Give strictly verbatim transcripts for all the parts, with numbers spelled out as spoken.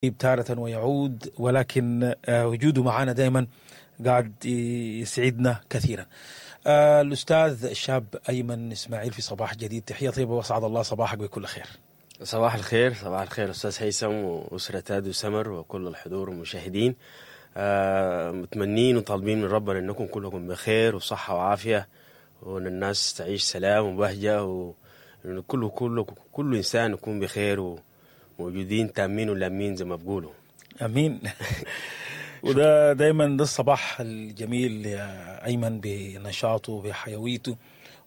تارة ويعود، ولكن وجوده معنا دائما قاعد يسعدنا كثيرا. الأستاذ الشاب أيمن إسماعيل في صباح جديد، تحية طيبة وأسعد الله صباحك بكل خير. صباح الخير، صباح الخير أستاذ هيثم وأسرة راديو سمر وكل الحضور والمشاهدين. آه متمنين وطالبين من ربنا أنكم كلكم بخير وصحة وعافية، وأن الناس تعيش سلام وبهجة، وأن كل كل كل إنسان يكون بخير وموجودين تامين ولامين زي ما بقولوا. امين. وده دايما ده الصباح الجميل يا ايمن، بنشاطه بحيويته،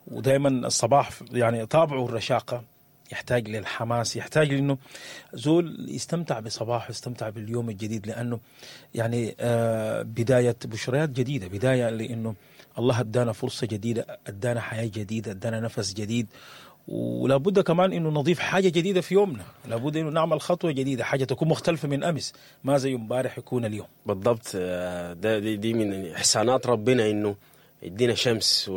ودايما الصباح يعني طابعه الرشاقه، يحتاج للحماس، يحتاج لانه زول يستمتع بصباحه، يستمتع باليوم الجديد، لانه يعني آه بداية بشريات جديدة، بداية لانه الله ادانا فرصة جديدة، ادانا حياة جديدة، ادانا نفس جديد، ولا بد كمان انه نضيف حاجة جديدة في يومنا، لابد انه نعمل خطوة جديدة، حاجة تكون مختلفة من امس، ما زي امبارح يكون اليوم. بالضبط، ده دي, دي من احسانات ربنا انه يدينا شمس،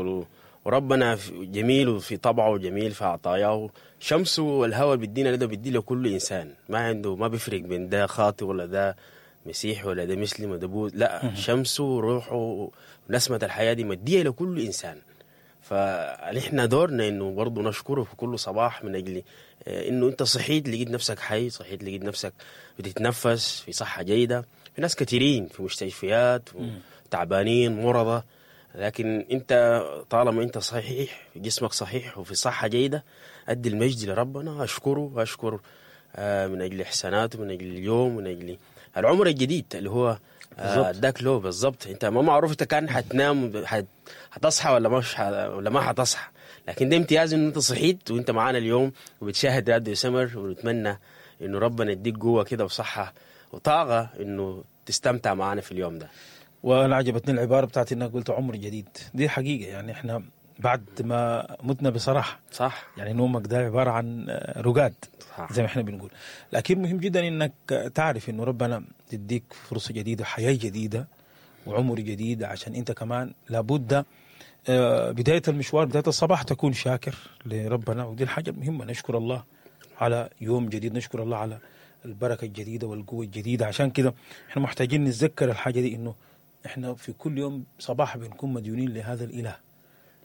وربنا جميل وفي طبعه وجميل في عطاياه، شمسه والهواء اللي بيدينا ده بيدي لكل انسان، ما عنده ما بيفرق بين ده خاطئ ولا ده مسيح ولا ده مسلم ولا ده بوذ، لا، شمسه وروحه ونسمه الحياة دي مديه لكل انسان. فنحن دورنا انه برضه نشكره في كل صباح من اجل انه انت صحيت لقيت نفسك حي، صحيت لقيت نفسك بتتنفس في صحة جيدة. في ناس كثيرين في مستشفيات وتعبانين مرضى، لكن انت طالما انت صحيح، جسمك صحيح وفي صحة جيدة، ادي المجد لربنا، اشكره واشكر من اجل احساناته، من اجل اليوم، من اجل العمر الجديد اللي هو اداك له. بالضبط، انت ما معروف انت كان حتنام حت... حتصحى ولا مش ح... ولا ما حتصحى، لكن ده امتياز ان انت صحيت وانت معانا اليوم وبتشاهد راديو سمر، ونتمنى انه ربنا يديك قوة كده وصحة وطاقة انه تستمتع معانا في اليوم ده. وانا عجبتني العبارة بتاعت انك قلت عمر جديد، دي حقيقة، يعني احنا بعد ما متنا بصراحة، صح، يعني نومك ده عبارة عن رقاد، صح، زي ما احنا بنقول، لكن مهم جدا انك تعرف انه ربنا يديك فرصة جديدة، حياة جديدة، وعمر جديد، عشان انت كمان لابد بداية المشوار، بداية الصباح تكون شاكر لربنا، ودي الحاجة المهمة، نشكر الله على يوم جديد، نشكر الله على البركة الجديدة والقوه الجديدة. عشان كده احنا محتاجين نتذكر الحاجة دي، انه احنا في كل يوم صباح بنكون مديونين لهذا الاله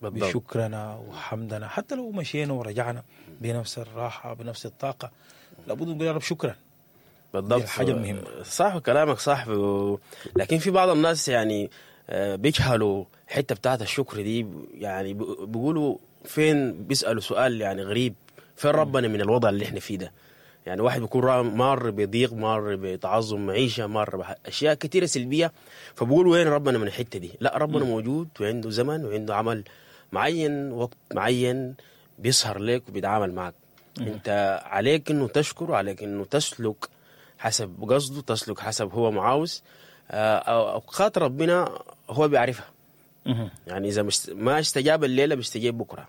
بالضبط، بشكرنا وحمدنا، حتى لو مشينا ورجعنا بنفس الراحة بنفس الطاقة، لابد نقول يا رب شكرا. بالضبط، الحاجة المهمة. صح كلامك صح، و... لكن في بعض الناس يعني بيجهلوا الحتة بتاعت الشكر دي، يعني بيقولوا فين، بيسألوا سؤال يعني غريب، فين ربنا من الوضع اللي احنا فيه ده؟ يعني واحد بيكون مار بضيق، مار بتعظم معيشة، مار باشياء كثيرة سلبية، فبقول وين ربنا من الحتة دي؟ لا، ربنا م. موجود وعنده زمن وعنده عمل معين، وقت معين بيسهر لك وبيتعامل معك. م. انت عليك انه تشكر، وعليك انه تسلك حسب قصده، تسلك حسب هو معاوز. اوقات ربنا هو بيعرفها. م. يعني اذا مش ما استجاب الليلة بيستجيب بكره،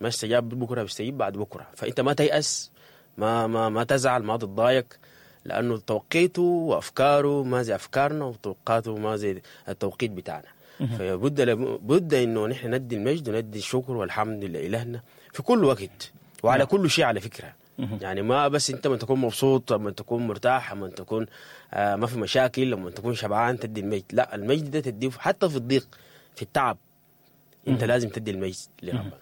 ما استجاب بكره بيستجيب بعد بكره. فانت ما تيأس، ما ما ما تزعل، ما تتضايق، لانه توقيته وافكاره ما زي افكارنا، وتوقاته ما زي التوقيت بتاعنا. فبد بد انه نحن ندي المجد وندي الشكر والحمد لالهنا في كل وقت وعلى كل شيء على فكرة. يعني ما بس انت لما تكون مبسوط، لما تكون مرتاح، لما تكون آه ما في مشاكل، لما تكون شبعان تدي المجد، لا، المجد ده تديه حتى في الضيق، في التعب، انت لازم تدي المجد لربنا.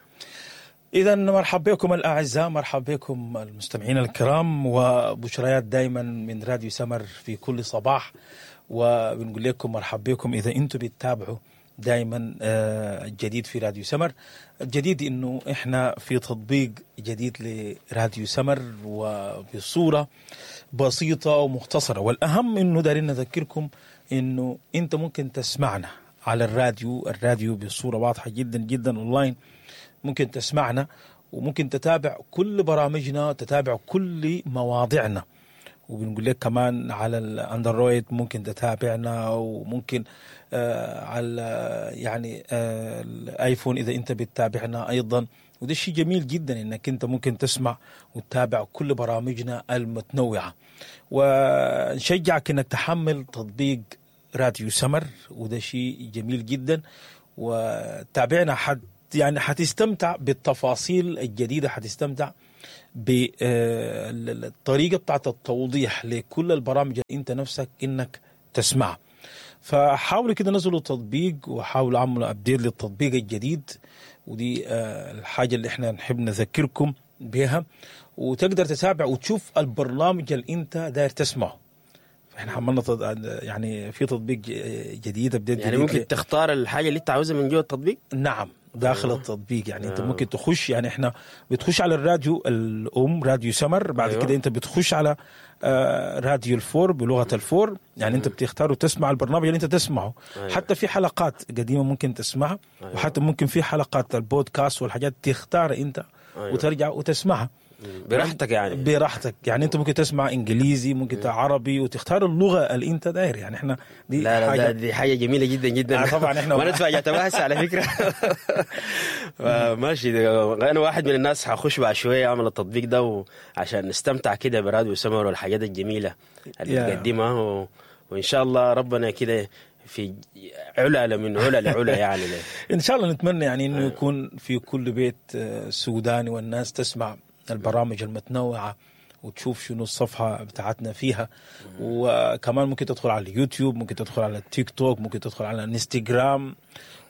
إذا مرحبا بكم الأعزاء، مرحبا بكم المستمعين الكرام، وبشريات دايما من راديو سمر في كل صباح، وبنقول لكم مرحبا بكم إذا أنتم بتتابعوا دايما الجديد في راديو سمر. الجديد إنه إحنا في تطبيق جديد لراديو سمر وبصورة بسيطة ومختصرة، والأهم إنه دارين نذكركم إنه أنت ممكن تسمعنا على الراديو، الراديو بصورة واضحة جدا جدا أونلاين، ممكن تسمعنا وممكن تتابع كل برامجنا، تتابع كل مواضيعنا، وبنقول لك كمان على الاندرويد ممكن تتابعنا، وممكن آه على يعني آه الايفون اذا انت بتتابعنا ايضا. وده شيء جميل جدا انك انت ممكن تسمع وتتابع كل برامجنا المتنوعة، ونشجعك انك تحمل تطبيق راديو سمر، وده شيء جميل جدا، وتابعنا حد يعني حتستمتع بالتفاصيل الجديدة، حتستمتع بالطريقة بتاعت التوضيح لكل البرامج اللي انت نفسك انك تسمعها. فحاولوا كده نزلوا التطبيق وحاولوا عملوا update للتطبيق الجديد، ودي آه، الحاجة اللي احنا نحب نذكركم بها، وتقدر تتابع وتشوف البرنامج اللي انت داير تسمعه. احنا حملنا تط- يعني في تطبيق ج- جديد، update يعني جديد ممكن ل- تختار الحاجة اللي انت عاوزها من جوه التطبيق. نعم، داخل التطبيق. يعني انت ممكن تخش، يعني احنا بتخش على الراديو الام راديو سمر، بعد أيوة. كده انت بتخش على آه، راديو الفور بلغه الفور، يعني انت بتختار وتسمع البرنامج اللي انت تسمعه. أيوة. حتى في حلقات قديمة ممكن تسمعها. أيوة. وحتى ممكن في حلقات البودكاست والحاجات تختار انت أيوة. وترجع وتسمعها براحتك يعني. براحتك. يعني انت ممكن تسمع انجليزي، ممكن عربي، وتختار اللغة اللي انت داير. يعني احنا دي لا لا حاجة ده دي حاجة جميلة جدا جدا. آه، طبعاً إحنا- وانا اتفاجأت بها هسه على فكرة. آه، ماشي، ده انا واحد من الناس حخش بعد شوية اعمل التطبيق ده عشان نستمتع كده براديو سمر والحاجات الجميلة اللي يا. بتقدمها و... وان شاء الله ربنا كده في علا من علا لعلا يعني. ان شاء الله نتمنى يعني انه يكون في كل بيت آه، سوداني والناس تسمع البرامج المتنوعة وتشوف شنو الصفحة بتاعتنا فيها. وكمان ممكن تدخل على اليوتيوب، ممكن تدخل على التيك توك، ممكن تدخل على الانستغرام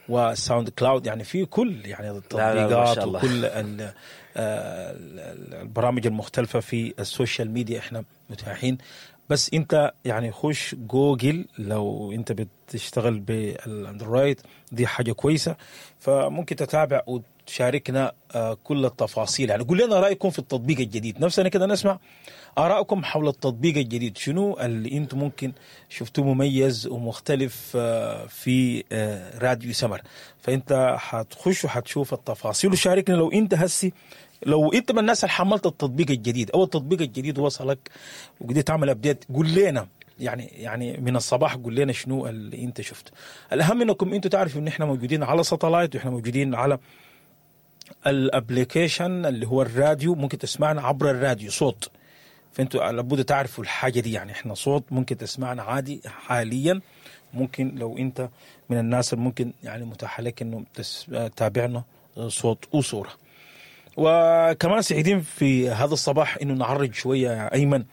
وساوند كلاود، يعني في كل يعني لا، ما التطبيقات شاء الله. وكل ال- آه، ال- البرامج المختلفة في ال social media احنا متاحين. بس انت يعني خش جوجل لو انت بتشتغل بالاندرويد، دي حاجة كويسة، فممكن تتابع وتشاركنا آه، كل التفاصيل. يعني قول لنا رايكم في التطبيق الجديد، نفسنا كده نسمع ارائكم حول التطبيق الجديد، شنو اللي انتم ممكن شفتوه مميز ومختلف آه، في آه، راديو سمر. فانت حتخش وحتشوف التفاصيل وشاركنا لو انت هسي، لو انت من الناس اللي حملت التطبيق الجديد او التطبيق الجديد وصلك وقدرت تعمل update، قول لنا يعني يعني من الصباح قول لنا شنو اللي انت شفته. الاهم انكم انتم تعرفوا ان احنا موجودين على satellite، واحنا موجودين على ال application اللي هو الراديو، ممكن تسمعنا عبر الراديو صوت، فانتوا لابد تعرفوا الحاجة دي. يعني احنا صوت ممكن تسمعنا عادي حاليا، ممكن لو انت من الناس اللي ممكن يعني متاح لك انه تس- تتابعنا صوت وصوره. وكمان سعيدين في هذا الصباح انه نعرج شوية يا ايمن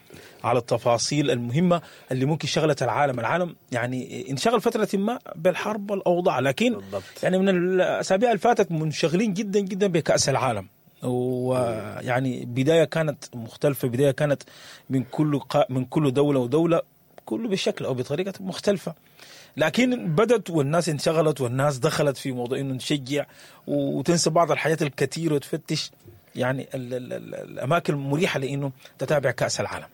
على التفاصيل المهمة اللي ممكن شغلت العالم، العالم يعني انشغل فترة ما بالحرب والاوضاع، لكن بالضبط. يعني من الاسابيع اللي فاتت منشغلين جدا جدا بكاس العالم، ويعني بداية كانت مختلفة، بداية كانت من كل قا... من كل دولة ودولة، كله بشكل او بطريقة مختلفة، لكن بدت والناس انشغلت والناس دخلت في موضوع انه نشجع وتنسى بعض الحاجات الكثيرة وتفتش يعني ال ال ال الاماكن المريحة لانه تتابع كاس العالم.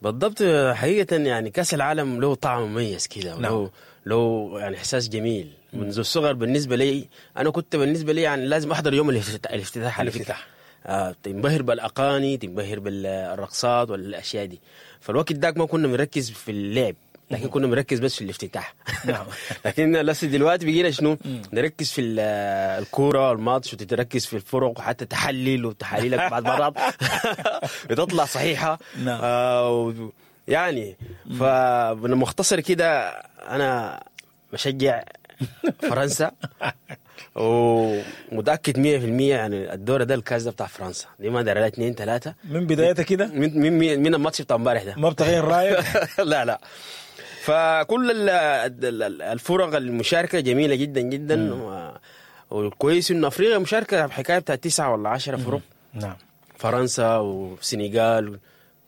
بالضبط، حقيقة يعني كأس العالم له طعم مميز كده، نعم. وله له يعني إحساس جميل منذ الصغر. بالنسبة لي أنا كنت بالنسبة لي يعني لازم أحضر يوم الافتتاح الافتتاح على فكرة. الافتتاح. آه، تنبهر بالأغاني، تنبهر بالرقصات والأشياء دي. فالوقت داك ما كنا بنركز في اللعب، لكن كنا بنركز بس في الافتتاح. نعم. لكن لسه دلوقتي بقينا شنو نركز في ال- الكورة والماتش، وتتركز في الفرق، وحتى تحلل، وتحاليلك بعد مرات بتطلع صحيحه. نعم. آه و- يعني فبالمختصر كده انا بشجع فرنسا ومتاكد مية في المية يعني الدور ده الكاس ده بتاع فرنسا، دي ما دار اثنين ثلاثة من بدايتها كده من من من الماتش بتاع امبارح ده. ما بتغير رايك؟ لا لا، فكل ال- ال- الفرق المشاركة جميلة جدا جدا، و- والكويس انه افريقيا مشاركة بحكاية بتاع تسعة ولا عشرة فرق. نعم. فرنسا والسنغال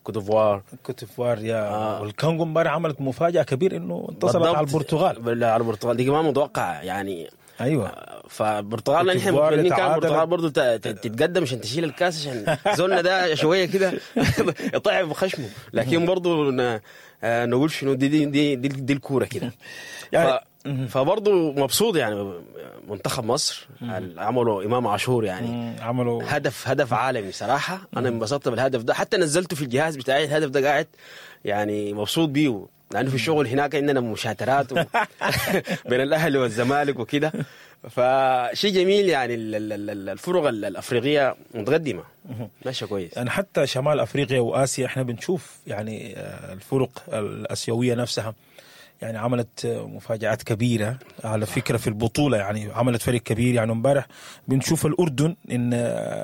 كوت ديفوار. كوت ديفوار يا آه. والكونغو امبارح عملت مفاجاة كبيرة انه انتصرت بالضبط. على البرتغال. لا، على البرتغال دي ما متوقع يعني. ايوه. فالبرتغال كوت نحن ديفوار متمنين كان تعادلت. البرتغال برضه ت- ت- تتقدم عشان تشيل الكاس، عشان زولنا ده شوية كده يطعم بخشمه، لكن برضه ن- آه، نقول شنو دي دي دي, دي, دي الكورة كده. يعني- ف... فبرضه مبسوط يعني منتخب مصر اللي عملوا امام عاشور يعني مم، عملوا هدف هدف عالمي صراحة. انا انبسطت بالهدف ده، حتى نزلته في الجهاز بتاعي الهدف ده، قاعد يعني مبسوط بيه، لانه في الشغل هناك عندنا مشاترات و... بين الاهلي والزمالك وكده، فشيء جميل يعني ال- ال- ال- الفرق ال- الافريقية متقدمة ماشية كويس. يعني حتى شمال افريقيا واسيا احنا بنشوف يعني آه، الفرق الاسيوية نفسها يعني عملت مفاجآت كبيرة على فكرة في البطولة، يعني عملت فريق كبير. يعني امبارح بنشوف الأردن إن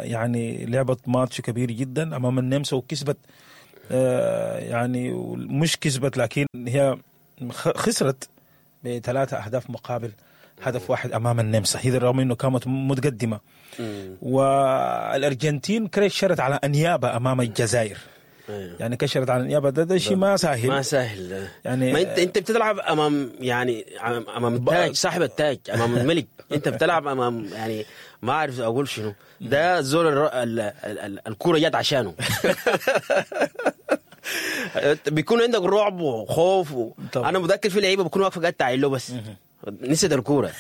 يعني لعبت ماتش كبير جدا أمام النمسا وكسبت، يعني مش كسبت لكن هي خسرت بثلاثة أهداف مقابل هدف واحد أمام النمسا، هذا رغم أنه كانت متقدمة. والأرجنتين كشرت على أنيابة أمام الجزائر. يعني كشرت على النيابة، ده, ده شيء ما سهل، ما سهل يعني. ما انت انت بتلعب امام يعني امام التاج، صاحب التاج، امام الملك. انت بتلعب امام يعني ما اعرف اقول شنو ده، زول الكورة جت عشانه. بيكون عندك رعب وخوف و... انا متذكر في لعيبة بكون واقفة قاعد تعاين له بس نسيت الكورة.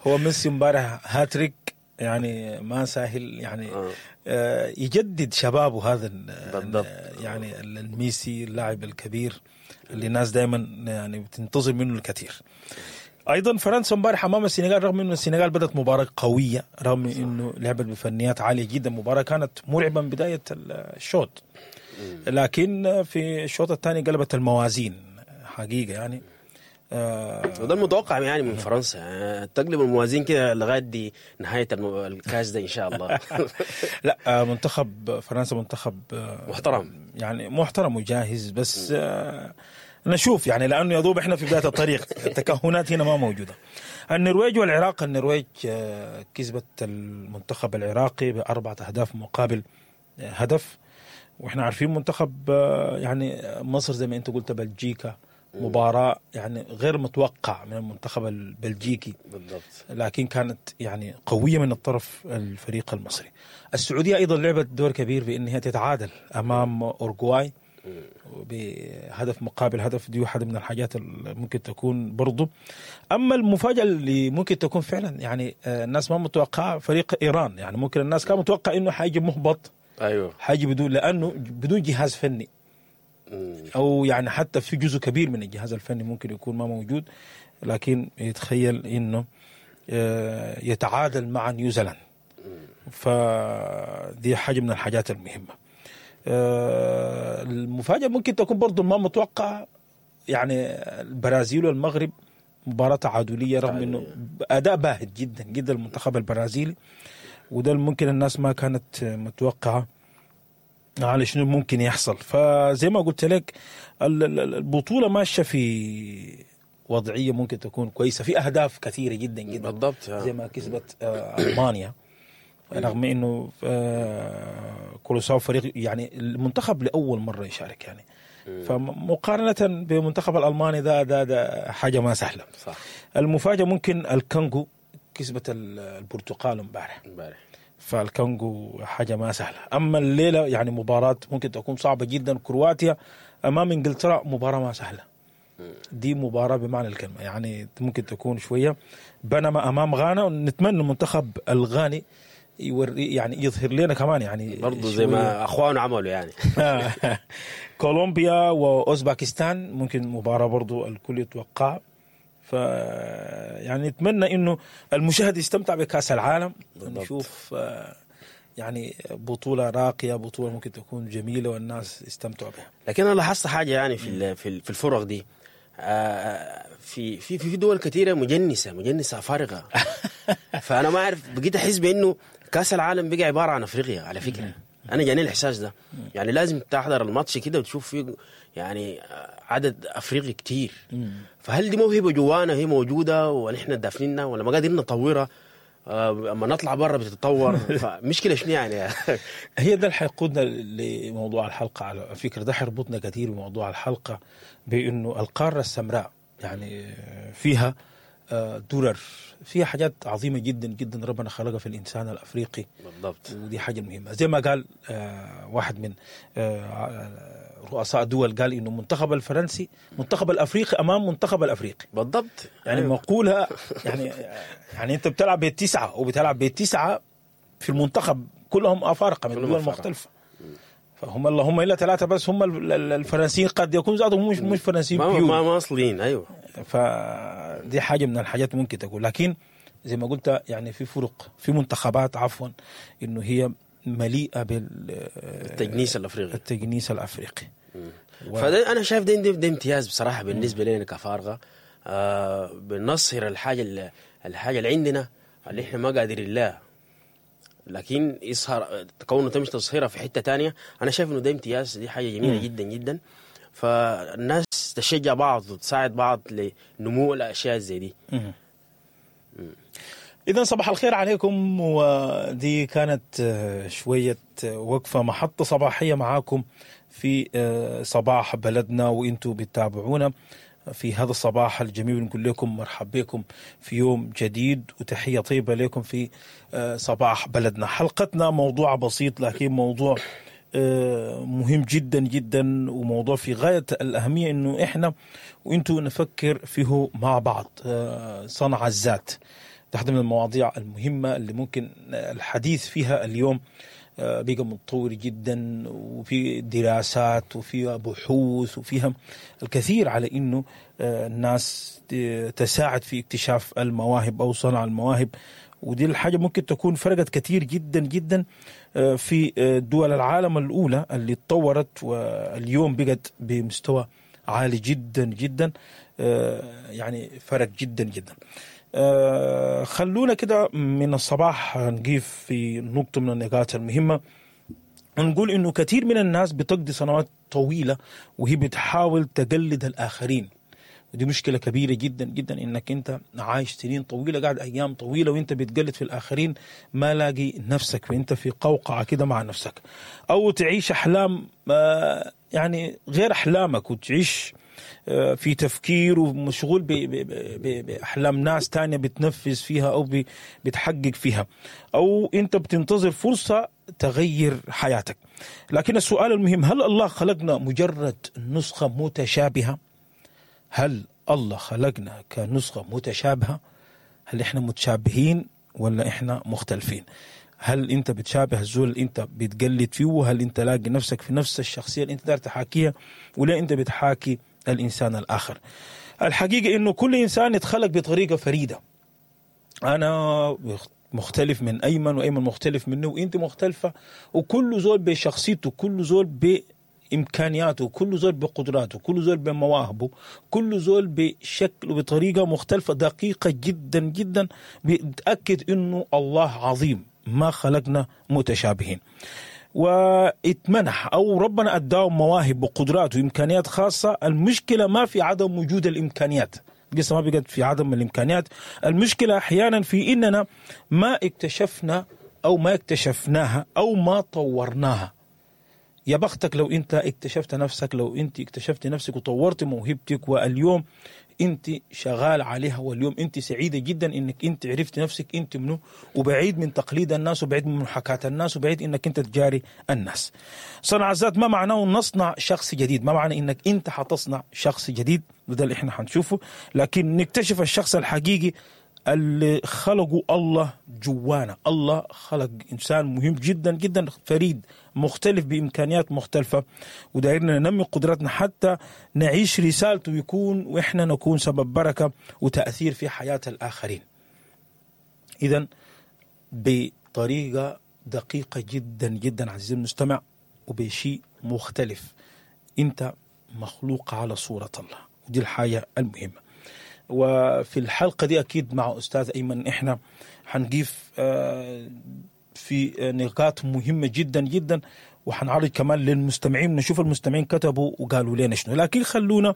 هو ميسي امبارح هاتريك، يعني ما سهل يعني آه. يجدد شبابه هذا بالضبط. يعني الميسي اللاعب الكبير اللي الناس دائما يعني بتنتظر منه الكثير. ايضا فرنسا امبارح امام السنغال، رغم انه السنغال بدات مباراة قوية، رغم انه لعبت بفنيات عالية جدا، مباراة كانت مرعبة من بداية الشوط، لكن في الشوط الثاني قلبت الموازين حقيقة يعني. آه وده المتوقع يعني من فرنسا، يعني تقلب الموازين كده لغاية دي نهاية الكاس ده ان شاء الله. لا منتخب فرنسا منتخب محترم، يعني محترم وجاهز، بس آه نشوف يعني، لانه يا دوب احنا في بداية الطريق، التكهنات هنا ما موجودة. النرويج والعراق، النرويج آه كسبت المنتخب العراقي باربعة اهداف مقابل هدف، واحنا عارفين منتخب آه يعني مصر زي ما انت قلت بلجيكا، مباراة يعني غير متوقع من المنتخب البلجيكي بالضبط، لكن كانت يعني قوية من الطرف الفريق المصري. السعودية أيضا لعبت دور كبير بأن هي تتعادل أمام أورجواي بهدف مقابل هدف، دي واحدة من الحاجات اللي ممكن تكون برضو. أما المفاجأة اللي ممكن تكون فعلا يعني الناس ما متوقعة فريق إيران، يعني ممكن الناس كان متوقع إنه حيجي مهبط، أيوه حيجي بدون، لأنه بدون جهاز فني، أو يعني حتى في جزء كبير من الجهاز الفني ممكن يكون ما موجود، لكن يتخيل إنه يتعادل مع نيوزيلاند، فدي حاجة من الحاجات المهمة. المفاجأة ممكن تكون برضو ما متوقع، يعني البرازيل والمغرب مباراة تعادلية، رغم إنه أداء باهت جدا جدا المنتخب البرازيلي، وده ممكن الناس ما كانت متوقعة على شنو ممكن يحصل. فزي ما قلت لك البطولة ماشية في وضعية ممكن تكون كويسة، في أهداف كثيرة جدا جدا بالضبط، زي ما كسبت ألمانيا، رغم إنه كولوساو فريق يعني المنتخب لأول مرة يشارك يعني، فمقارنة بمنتخب الألماني ده ده ده حاجة ما سهلة. صح. المفاجأة ممكن الكونغو كسبت البرتغال امبارح امبارح، فالكونغو حاجة ما سهلة. أما الليلة يعني مباراة ممكن تكون صعبة جدا، كرواتيا أمام إنجلترا مباراة ما سهلة، دي مباراة بمعنى الكلمة يعني ممكن تكون شوية. بنما أمام غانا، نتمنى المنتخب الغاني يوري يعني يظهر لنا كمان يعني برضو زي ما أخوانه عملوا يعني. كولومبيا وأوزباكستان ممكن مباراة برضو الكل يتوقع، ف يعني نتمنى انه المشاهد يستمتع بكاس العالم، نشوف يعني بطولة راقية، بطولة ممكن تكون جميلة والناس يستمتعوا بها. لكن انا لاحظت حاجة يعني في في الفرق دي، في في في دول كثيرة مجنسة مجنسة فارغة. فانا ما اعرف، بقيت احس بانه كاس العالم بقى عبارة عن افريقيا على فكرة. انا جاني الاحساس ده، يعني لازم تحضر الماتش كده وتشوف فيه يعني عدد افريقي كتير. فهل دي موهبة جوانا هي موجودة ونحن دافنينها ولا ما قادرين نطورها؟ اما نطلع برا بتتطور، فمشكله شنو يعني؟ هي ده اللي حيقودنا لموضوع الحلقة على فكرة، ده حيربطنا كثير بموضوع الحلقة، بانه القارة السمراء يعني فيها درر، فيها حاجات عظيمة جدا جدا ربنا خلقها في الإنسان الأفريقي بالضبط، ودي حاجة مهمة. زي ما قال واحد من رؤساء دول، قال إنه منتخب الفرنسي منتخب الأفريقي أمام منتخب الأفريقي بالضبط، يعني أيوة. مقولة يعني يعني أنت بتلعب بالتسعة وبتلعب بالتسعة في المنتخب كلهم أفارقة من دول مختلفة، فهم اللهم إلا ثلاثة بس هم الفرنسيين، قد يكون زادهم مش مش فرنسيين ما ما, ما أصليين. أيوة، فدي حاجة من الحاجات ممكن تقول. لكن زي ما قلت يعني في فرق، في منتخبات عفوا إنه هي مليئة بالتجنيس الأفريقي، التجنيس الأفريقي. و... فده انا شايف ده, ده, ده امتياز بصراحة بالنسبة لنا كفارغه. آه بنصهر الحاجة اللي الحاجة اللي عندنا اللي احنا ما قادرين لها، لكن يظهر كونه تمشي تصهيرها في حتة تانية. انا شايف انه ده امتياز، دي حاجة جميلة مم. جدا جدا. فالناس تشجع بعض وتساعد بعض لنمو الاشياء زي دي. إذا صباح الخير عليكم، ودي كانت آه، شوية آه، وقفة محطة صباحية معاكم في آه، صباح بلدنا، وإنتوا بتتابعونا في هذا الصباح الجميل. نقول لكم مرحبا بكم في يوم جديد، وتحية طيبة لكم في آه، صباح بلدنا. حلقتنا موضوع بسيط لكن موضوع آه، مهم جدا جدا، وموضوع في غاية الأهمية إنه إحنا وإنتوا نفكر فيه مع بعض. آه، صنع الذات واحدة من المواضيع المهمة اللي ممكن الحديث فيها اليوم. آه، بقى متطور جدا، وفي دراسات وفيها بحوث وفيها الكثير على انه آه، الناس ت- تساعد في اكتشاف المواهب او صنع المواهب. ودي الحاجة ممكن تكون فرقت كثير جدا جدا آه، في آه، دول العالم الأولى اللي تطورت واليوم بقت بمستوى عالي جدا جدا، آه، يعني فرق جدا جدا. آه، خلونا كده من الصباح نقيف في نقطة من النقاط المهمة، ونقول إنه كثير من الناس بتقضي سنوات طويلة وهي بتحاول تقلد الآخرين، ودي مشكلة كبيرة جدا جدا، إنك أنت عايش سنين طويلة، قاعد أيام طويلة وأنت بتقلد في الآخرين، ما لاقي نفسك، وأنت في قوقعة كده مع نفسك، أو تعيش أحلام آه، يعني غير أحلامك، وتعيش آه، في تفكير ومشغول ب- ب- ب- بأحلام ناس تانية بتنفذ فيها أو ب- بتحقق فيها، أو أنت بتنتظر فرصة تغير حياتك. لكن السؤال المهم، هل الله خلقنا مجرد نسخة متشابهة؟ هل الله خلقنا كنسخة متشابهة؟ هل احنا متشابهين ولا احنا مختلفين؟ هل انت بتشابه الزول اللي انت بتقلد فيه؟ هل انت لاقي نفسك في نفس الشخصية اللي انت داير تحاكيها، ولا انت بتحاكي الانسان الاخر؟ الحقيقة انه كل انسان يتخلق بطريقة فريدة. انا مختلف من ايمن، وايمن مختلف منه، وانت مختلفة، وكل زول بشخصيته، كل زول بامكانياته، كل زول بقدراته، كل زول بمواهبه، كل زول بشكل وبطريقة مختلفة دقيقة جدا جدا، بتاكد انه الله عظيم، ما خلقنا متشابهين. واتمنح او ربنا اداه مواهب وقدرات وامكانيات خاصة. المشكلة ما في عدم وجود الامكانيات، القصة ما بقت في عدم الامكانيات، المشكلة احيانا في اننا ما اكتشفنا او ما اكتشفناها او ما طورناها. يا بختك لو انت اكتشفت نفسك، لو انت اكتشفت نفسك وطورت موهبتك، واليوم انت شغال عليها، واليوم انت سعيدة جدا انك انت عرفت نفسك انت منو، وبعيد من تقليد الناس، وبعيد من محاكاة الناس، وبعيد انك انت تجاري الناس. صنع الذات ما معناه نصنع شخص جديد، ما معنى انك انت حتصنع شخص جديد، وده اللي احنا حنشوفه، لكن نكتشف الشخص الحقيقي اللي خلقه الله جوانا. الله خلق إنسان مهم جدا جدا، فريد، مختلف، بإمكانيات مختلفة، ودايرنا ننمي قدراتنا حتى نعيش رسالته، ويكون وإحنا نكون سبب بركة وتأثير في حياة الآخرين. إذن بطريقة دقيقة جدا جدا عزيزي المستمع، وبشيء مختلف، أنت مخلوق على صورة الله، ودي الحاجة المهمة. وفي الحلقة دي أكيد مع أستاذ أيمن إحنا حنضيف آه، في نقاط مهمة جدا جدا، وحنعرض كمان للمستمعين، نشوف المستمعين كتبوا وقالوا لنا شنو. لكن خلونا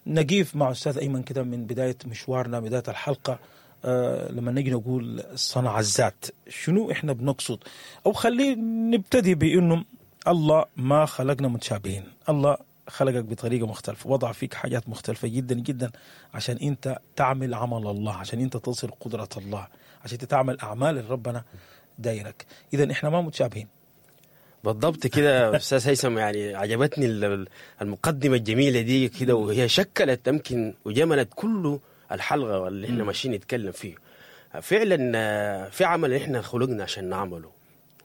نقيف مع أستاذ أيمن كده من بداية مشوارنا، بداية الحلقة، آه، لما نجي نقول صنع الذات شنو إحنا بنقصد، أو خليه نبتدي بأنه الله ما خلقنا متشابهين، الله خلقك بطريقة مختلفة، وضع فيك حاجات مختلفة جدا جدا عشان أنت تعمل عمل الله، عشان أنت تصل قدرة الله، عشان أنت تعمل أعمال اللي ربنا دايرك. إذا إحنا ما متشابهين. بالضبط كده استاذ هيثم، يعني عجبتني ال- المقدمة الجميلة دي كده، وهي شكلت يمكن وجملت كل الحلقة اللي احنا ماشيين نتكلم فيه. فعلا آه، في عمل احنا خلقنا عشان نعمله،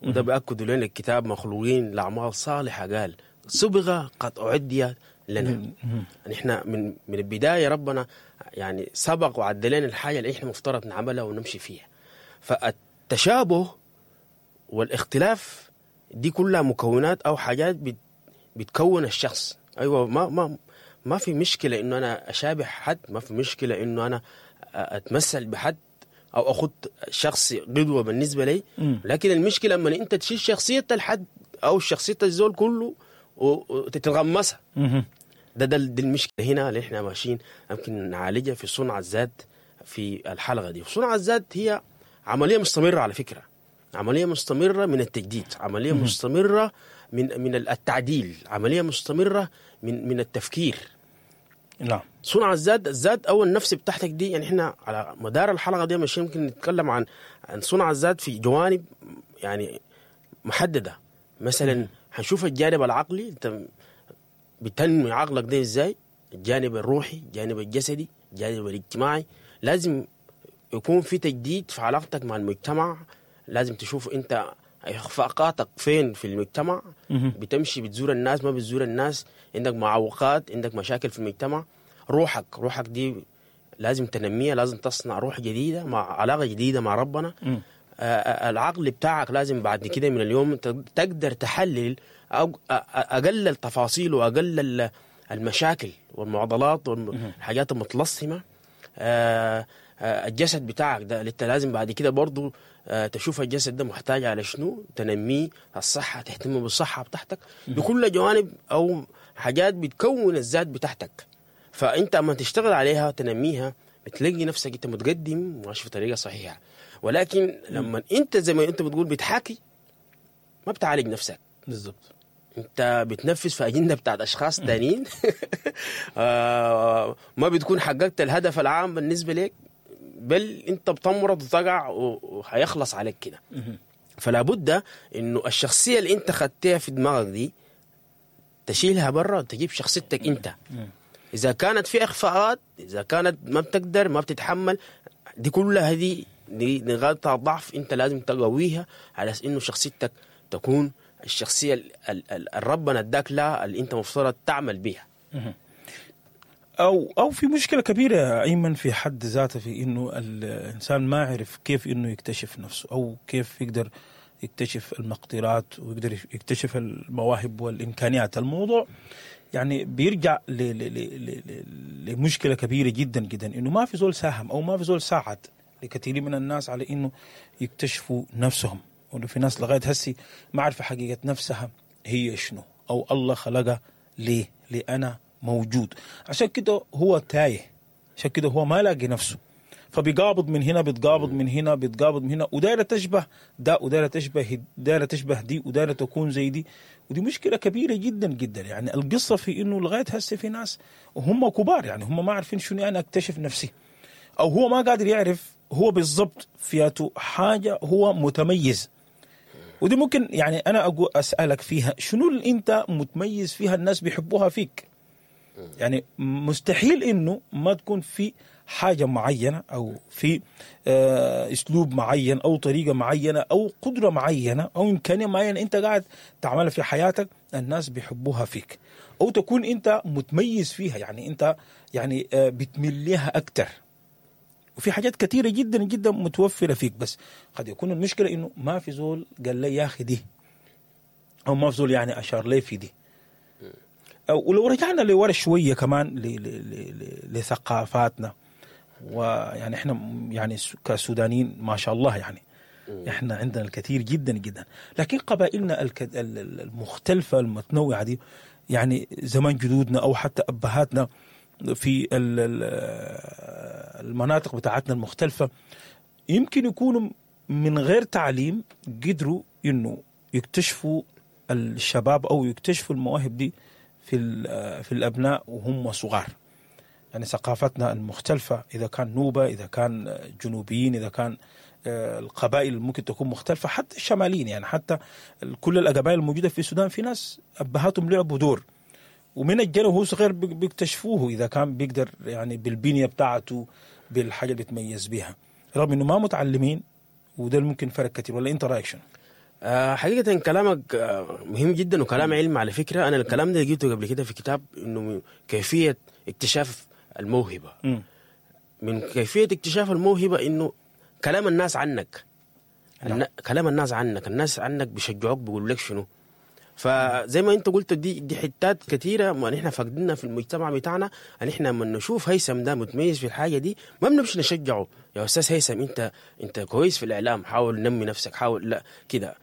وده بأكد لنا الكتاب، مخلوقين لاعمال صالحه، قال صبغة قد اعديت لنا. يعني احنا من من البداية ربنا يعني سبق وعد لنا الحاجة اللي احنا مفترض نعملها ونمشي فيها. فالتشابه والاختلاف دي كلها مكونات او حاجات بت بتكون الشخص. ايوه، ما ما ما في مشكلة انه انا اشابه حد، ما في مشكلة انه انا اتمثل بحد او اخذ شخص قدوة بالنسبة لي. لكن المشكلة لما انت تشيل شخصية الحد او شخصية الزول كله وتتغمسها. ده ده دي المشكلة هنا اللي احنا ماشيين يمكن نعالجها في صنع الذات في الحلقة دي. صنع الذات هي عملية مستمرة على فكرة، عملية مستمرة من التجديد، عملية مستمرة من من التعديل، عملية مستمرة من من التفكير. نعم. صنع الذات، الذات او النفس بتاعتك دي، يعني احنا على مدار الحلقة دي مش يمكن نتكلم عن عن صنع الذات في جوانب يعني محددة. مثلا هنشوف الجانب العقلي، انت بتنمي عقلك ده ازاي، الجانب الروحي، الجانب الجسدي، الجانب الاجتماعي. لازم يكون في تجديد في علاقتك مع المجتمع، لازم تشوف انت اخفاقاتك فين في المجتمع، بتمشي بتزور الناس ما بتزور الناس، عندك معوقات، عندك مشاكل في المجتمع. روحك، روحك دي لازم تنميها، لازم تصنع روح جديدة مع علاقة جديدة مع ربنا. آه العقل بتاعك لازم بعد كده من اليوم تقدر تحلل أو أقل التفاصيل وأقل المشاكل والمعضلات والحاجات المتلصمة. آه الجسد بتاعك ده انت لازم بعد كده برضو تشوف الجسد ده محتاج على شنو، تنمية الصحة، تهتم بالصحة بتاعتك بكل جوانب أو حاجات بتكون الذات بتاعتك. فأنت أما تشتغل عليها تنميها بتلاقي نفسك أنت متقدم وماشي في طريقة صحيحة. ولكن لما أنت زي ما أنت بتقول بتحاكي، ما بتعالج نفسك بالضبط، انت بتنفذ في اجندة بتاعت اشخاص تانيين. آه ما بتكون حققت الهدف العام بالنسبة لك، بل انت بتمرض وتقع وهيخلص عليك كده. فلا بد انه الشخصية اللي انت خدتها في دماغك دي تشيلها برا وتجيب شخصيتك انت. اذا كانت في اخفاقات، اذا كانت ما بتقدر ما بتتحمل، دي كلها دي نقاط ضعف انت لازم تقويها على انه شخصيتك تكون الشخصية الربنا اداك لها اللي انت مفترض تعمل بيها. او او في مشكلة كبيرة يا ايمن في حد ذاته، في انه الانسان ما عرف كيف انه يكتشف نفسه، او كيف يقدر يكتشف المقدرات ويقدر يكتشف المواهب والامكانيات. الموضوع يعني بيرجع ل ل ل لمشكلة كبيرة جدا جدا، انه ما في زول ساهم او ما في زول ساعد لكثير من الناس على انه يكتشفوا نفسهم. وانه في ناس لغاية هسي ما عارفه حقيقة نفسها هي شنو، او الله خلقها ليه، ليه انا موجود. عشان كده هو تايه، عشان كده هو ما لاقي نفسه، فبيقابض من هنا، بيتقابض من هنا، بيتقابض من هنا، ودايره تشبه ده، ودايره تشبه دايرة تشبه دي، ودايره تكون زي دي. ودي مشكلة كبيرة جدا جدا. يعني القصة في انه لغاية هسه في ناس وهم كبار، يعني هم ما عارفين شنو انا اكتشف نفسي، او هو ما قادر يعرف هو بالضبط فياته حاجة هو متميز. ودي ممكن يعني انا أقول اسالك فيها، شنو اللي انت متميز فيها الناس بيحبوها فيك؟ يعني مستحيل انه ما تكون في حاجة معينة، او في اسلوب معين، او طريقه معينة، او قدره معينة، او امكانية معينة انت قاعد تعملها في حياتك الناس بيحبوها فيك، او تكون انت متميز فيها، يعني انت يعني بتميل لها اكثر. وفي حاجات كثيرة جدا جدا متوفرة فيك، بس قد يكون المشكلة انه ما في زول قال لي يا اخي دي، او ما في زول يعني اشار لي في دي. ولو رجعنا لورا شوية كمان لثقافاتنا، ويعني احنا يعني كسودانيين ما شاء الله يعني احنا عندنا الكثير جدا جدا، لكن قبائلنا المختلفة المتنوعة دي، يعني زمان جدودنا او حتى ابهاتنا في المناطق بتاعتنا المختلفة، يمكن يكونوا من غير تعليم قدروا انه يكتشفوا الشباب او يكتشفوا المواهب دي في في الابناء وهم صغار. يعني ثقافتنا المختلفة، اذا كان نوبة، اذا كان جنوبيين، اذا كان القبائل ممكن تكون مختلفة، حتى الشماليين، يعني حتى كل القبائل الموجودة في السودان في ناس ابهاتهم لعبوا دور، ومن الجنة وهو صغير بيكتشفوه اذا كان بيقدر يعني بالبنية بتاعته، بالحاجة اللي بيتميز بيها، رغم انه ما متعلمين، وده ممكن فرق كثير. ولا انت رايك شنو؟ آه حقيقة كلامك مهم جدا وكلام علم على فكرة. أنا الكلام ده لقيته قبل كده في كتاب، إنه كيفية اكتشاف الموهبة. م. من كيفية اكتشاف الموهبة إنه كلام الناس عنك. النا... كلام الناس عنك، الناس عنك بيشجعوك، بيقولوا لك شنو. فزي ما انت قلت دي دي حتات كثيرة ما نحن فاقدينها في المجتمع بتاعنا. نحن لما نشوف هيثم ده متميز في الحاجة دي ما بنمشي نشجعه، يا استاذ هيثم انت انت كويس في الاعلام، حاول نمي نفسك، حاول لا كده.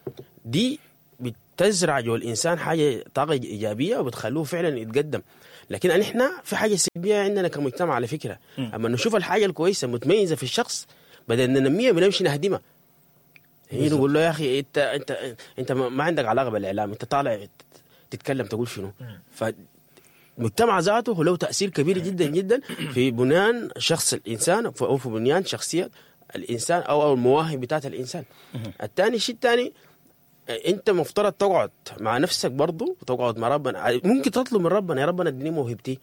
دي بتزرع جوا الانسان حاجة طاقة ايجابية وبتخلوه فعلا يتقدم. لكن نحن في حاجة سلبية عندنا كمجتمع على فكرة، اما نشوف الحاجة الكويسة متميزة في الشخص بدل ننميها بنمشي نهدمها. هي نقول له يا اخي انت انت انت ما عندك علاقة بالاعلام، انت طالع تتكلم تقول شنو. فالمجتمع ذاته له تاثير كبير جدا جدا في بنيان شخص الانسان او في بنيان شخصية الانسان او او المواهب بتاعت الانسان. الثاني شيء الثاني، انت مفترض تقعد مع نفسك برضه وتقعد مع ربنا. ممكن تطلب من ربنا، يا ربنا اديني موهبتي،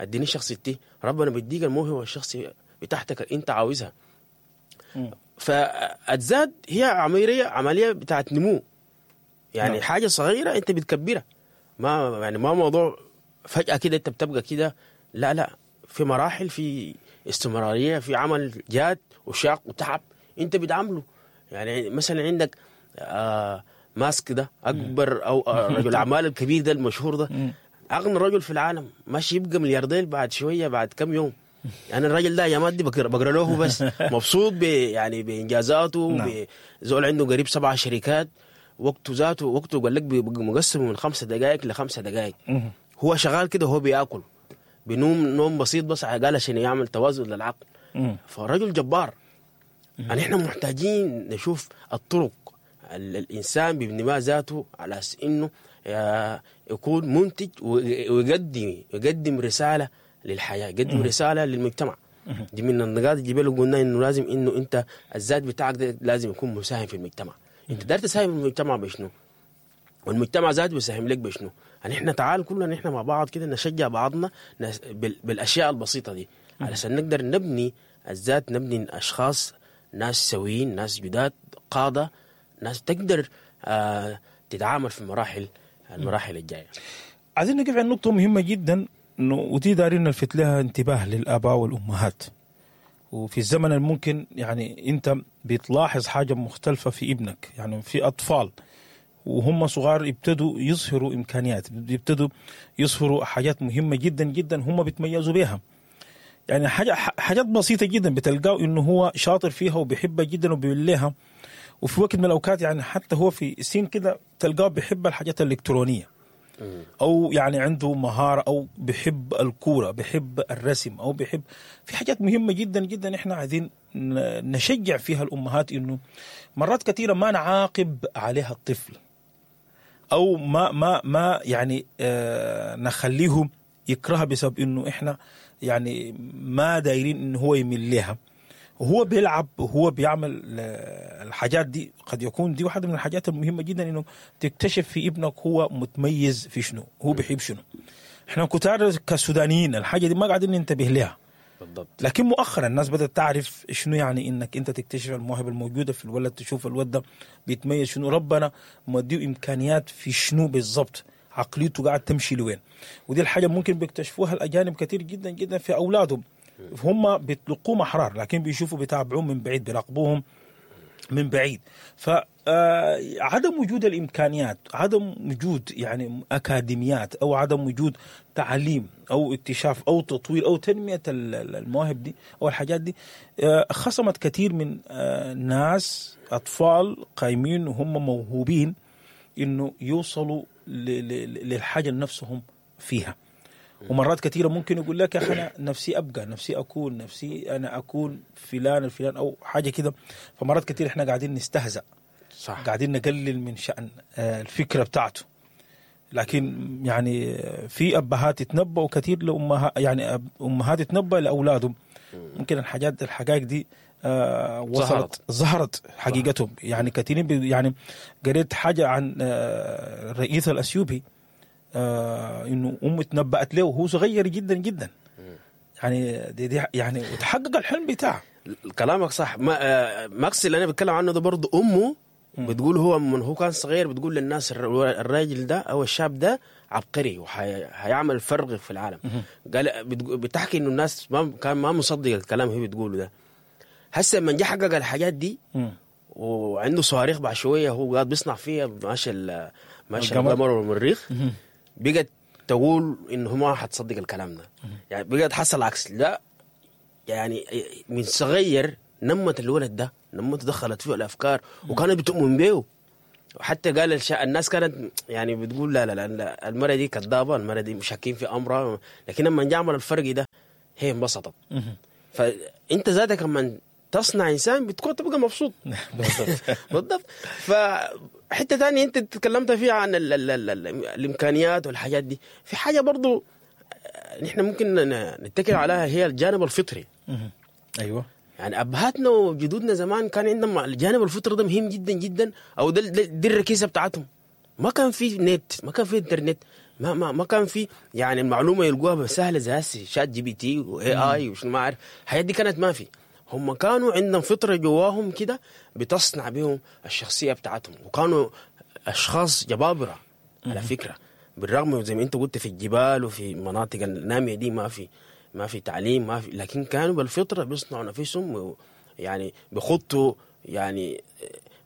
اديني شخصيتي. ربنا بيديك الموهبة والشخصية بتاعتك اللي انت عاوزها. فالذات هي عملية عملية بتاعت نمو، يعني نعم. حاجة صغيرة انت بتكبرها، ما يعني ما موضوع فجاة كده انت بتبقى كده، لا لا، في مراحل، في استمرارية، في عمل جاد وشاق وتعب انت بتعمله. يعني مثلا عندك آه ماسك ده اكبر او رجل اعمال الكبير ده المشهور ده، اغنى رجل في العالم، ماشي يبقى ملياردير بعد شوية بعد كم يوم. يعني الراجل ده يا مادي بقرا بقرا له بس مبسوط ب يعني بانجازاته. نعم. زول عنده قريب سبع شركات، وقته ذاته وقته قال لك بيبقى مقسم من خمسة دقائق لخمسة دقائق. هو شغال كده، هو بياكل بينوم نوم بسيط بس قال عشان يعمل توازن للعقل. فالرجل جبار. يعني احنا محتاجين نشوف الطرق الانسان بيبني ما ذاته على اساس انه يكون منتج ويقدم يقدم رسالة للحياة، يقدم رسالة للمجتمع. دي من النقاط اللي جبال قلنا انه لازم انه انت الذات بتاعك ده لازم يكون مساهم في المجتمع. انت داير تساهم في المجتمع بشنو؟ والمجتمع ذاته بيساهم لك بشنو؟ يعني احنا تعال كلنا احنا مع بعض كده نشجع بعضنا بالاشياء البسيطة دي علشان نقدر نبني الذات، نبني اشخاص، ناس سويين، ناس جداد، قاده، ناس تقدر آه تتعامل في المراحل المراحل الجاية. عايزين نقف عند نقطة مهمة جدا انه ودي دارين نلفت لها انتباه للاباء والامهات. وفي الزمن الممكن يعني انت بتلاحظ حاجة مختلفة في ابنك، يعني في اطفال وهم صغار يبتدوا يظهروا امكانيات، يبتدوا يظهروا حاجات مهمة جدا جدا هم بيتميزوا بها. يعني حاجة حاجات بسيطة جدا بتلقاه انه هو شاطر فيها وبيحبها جدا وبيوليها. وفي وقت من الاوقات يعني حتى هو في سن كده تلقاه بيحب الحاجات الالكترونية، او يعني عنده مهارة، او بيحب الكورة، بيحب الرسم، او بيحب في حاجات مهمة جدا جدا احنا عايزين نشجع فيها الامهات انه مرات كثيرة ما نعاقب عليها الطفل، او ما ما ما يعني آه نخليه يكرهها بسبب انه احنا يعني ما دايرين انه هو يميل لها. وهو بيلعب وهو بيعمل الحاجات دي، قد يكون دي واحدة من الحاجات المهمة جدا انه تكتشف في ابنك هو متميز في شنو، هو بيحب شنو. احنا كتار كسودانيين الحاجة دي ما قاعدين ننتبه لها بالضبط، لكن مؤخرا الناس بدأت تعرف شنو يعني انك انت تكتشف المواهب الموجودة في الولد، تشوف الولد ده بيتميز شنو، ربنا مديه امكانيات في شنو بالضبط، عقليته قاعد تمشي لوين. ودي الحاجة ممكن بيكتشفوها الأجانب كثير جدا جدا في أولادهم. هم بيطلقوهم أحرار، لكن بيشوفوا بيتابعوهم من بعيد، بيراقبوهم من بعيد. فعدم وجود الإمكانيات، عدم وجود يعني أكاديميات، أو عدم وجود تعليم أو اكتشاف أو تطوير أو تنمية المواهب دي أو الحاجات دي، خصمت كثير من ناس أطفال قايمين وهم موهوبين إنه يوصلوا للحاجة نفسهم فيها. ومرات كثيرة ممكن يقول لك يا أخي أنا نفسي أبقى، نفسي أكون، نفسي أنا أكون فلان الفلان أو حاجة كده. فمرات كثيرة إحنا قاعدين نستهزأ، صح، قاعدين نقلل من شأن الفكرة بتاعته. لكن يعني في أبهات يتنبأوا كثير لأمها، يعني أمهات يتنبأ لأولادهم. ممكن الحاجات الحقائق دي آه وصلت ظهرت حقيقتهم. يعني كثيرين يعني قريت حاجة عن آه الرئيس الأثيوبي آه انه امه تنبأت له وهو صغير جدا جدا، يعني دي دي يعني وتحقق الحلم بتاعه. كلامك صح. ما آه ماكس اللي انا بتكلم عنه ده برضه امه بتقول هو من هو كان صغير بتقول للناس الراجل ده او الشاب ده عبقري وهيعمل فرق في العالم. قال بتحكي انه الناس ما كان ما مصدق الكلام هي بتقوله ده. هسه لما جه حقق الحاجات دي وعنده صواريخ بعد شوية هو قاعد بيصنع فيها ماشي ال- ماشي القمر. القمر والمريخ، بقت تقول انه ما حتصدق الكلام ده. يعني بقت حصل العكس. لا يعني من صغير نمت الولد ده، نمت دخلت فيه الافكار وكانت بتؤمن به. حتى قال الشا... الناس كانت يعني بتقول لا لا لا, لا المرة دي كذابه، المرة دي مشاكين في امرها، لكن لما جاء عمل الفرق ده هي انبسطت. فانت ذاتك لما تصنع انسان بتكون تبقى مبسوط. بالضبط. بالضبط. فحته ثانية انت تكلمت فيها عن ال ال ال ال الامكانيات والحاجات دي، في حاجة برضو آه، نحن ممكن ن- نتكل عليها، هي الجانب الفطري. ايوه يعني ابهاتنا وجدودنا زمان كان عندهم الجانب الفطري ده مهم جدا جدا، او ده ده- دي الركيزة بتاعتهم. ما كان في نت، ما كان في انترنت، ما ما ما كان في يعني المعلومة يلقوها سهلة زي هسه ChatGPT و AI وشنو ما اعرف، الحاجات دي كانت ما في. هم كانوا عندهم فطره جواهم كده بتصنع بهم الشخصية بتاعتهم، وكانوا اشخاص جبابره على فكرة، بالرغم زي ما انت قلت في الجبال وفي المناطق النامية دي ما في ما في تعليم ما في، لكن كانوا بالفطرة بيصنعوا نفسهم و- يعني بيخطوا يعني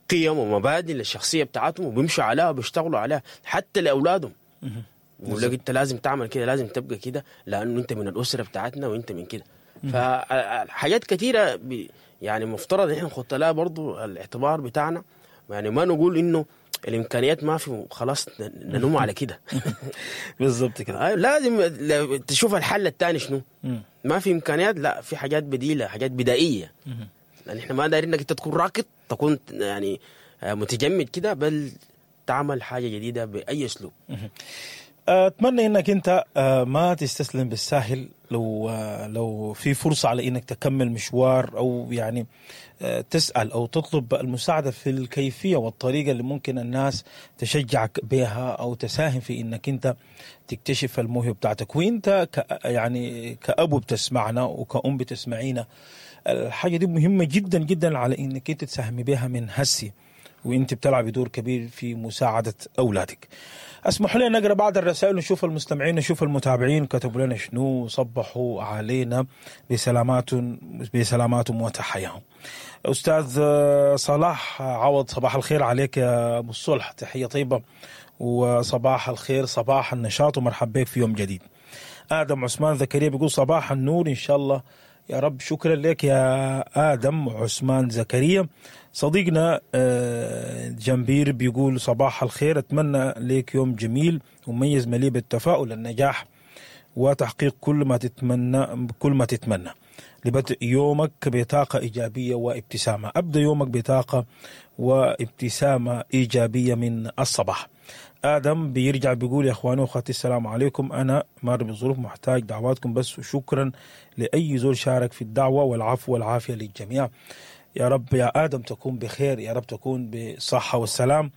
قيم ومبادئ للشخصية بتاعتهم وبيمشوا عليها وبيشتغلوا عليها حتى لاولادهم. بيقول لك انت لازم تعمل كده، لازم تبقى كده، لانه انت من الاسرة بتاعتنا وانت من كده. فحاجات كثيرة بي- يعني مفترض ان احنا نحط لها برضو الاعتبار بتاعنا، يعني ما نقول انه الامكانيات ما في وخلاص ن- ننوم على كده. بالضبط كده. أيوة، لازم ل- تشوف الحل الثاني شنو. مم. ما في امكانيات، لا في حاجات بديله، حاجات بدائية. لان احنا ما دايرين انك انت تكون راكد، تكون يعني آه، متجمد كده، بل تعمل حاجة جديدة باي اسلوب. اتمنى انك انت آه، ما تستسلم بالساهل. لو آه، لو في فرصة على انك تكمل مشوار، او يعني آه، تسال او تطلب المساعدة في الكيفية والطريقة اللي ممكن الناس تشجعك بها او تساهم في انك انت تكتشف الموهبة بتاعتك. وانت ك يعني كابو بتسمعنا وكأم بتسمعينا، الحاجة دي مهمة جدا جدا على انك انت تساهمي بها من هسي، وانت بتلعبي دور كبير في مساعدة اولادك. اسمحوا لنا نقرا بعض الرسائل ونشوف المستمعين، نشوف المتابعين كتبوا لنا شنو، صبحوا علينا بسلامات بسلاماتهم وتحياهم. استاذ آه، صلاح عوض، صباح الخير عليك يا ابو الصلح، تحية طيبة وصباح الخير، صباح النشاط، ومرحبا بك في يوم جديد. ادم عثمان زكريا بيقول صباح النور ان شاء الله يا رب. شكرا لك يا ادم عثمان زكريا. صديقنا آه، جنبير بيقول صباح الخير، اتمنى لك يوم جميل ومميز مليء بالتفاؤل، النجاح وتحقيق كل ما تتمنى كل ما تتمنى. لبدء يومك بطاقة إيجابية وابتسامة. أبدأ يومك بطاقة وابتسامة إيجابية من الصباح. آدم بيرجع بيقول يا أخواني وأخواتي السلام عليكم، أنا مار بظروف محتاج دعواتكم بس، وشكرا لأي زول شارك في الدعوة، والعفو والعافية للجميع. يا رب يا آدم تكون بخير، يا رب تكون بصحة والسلام،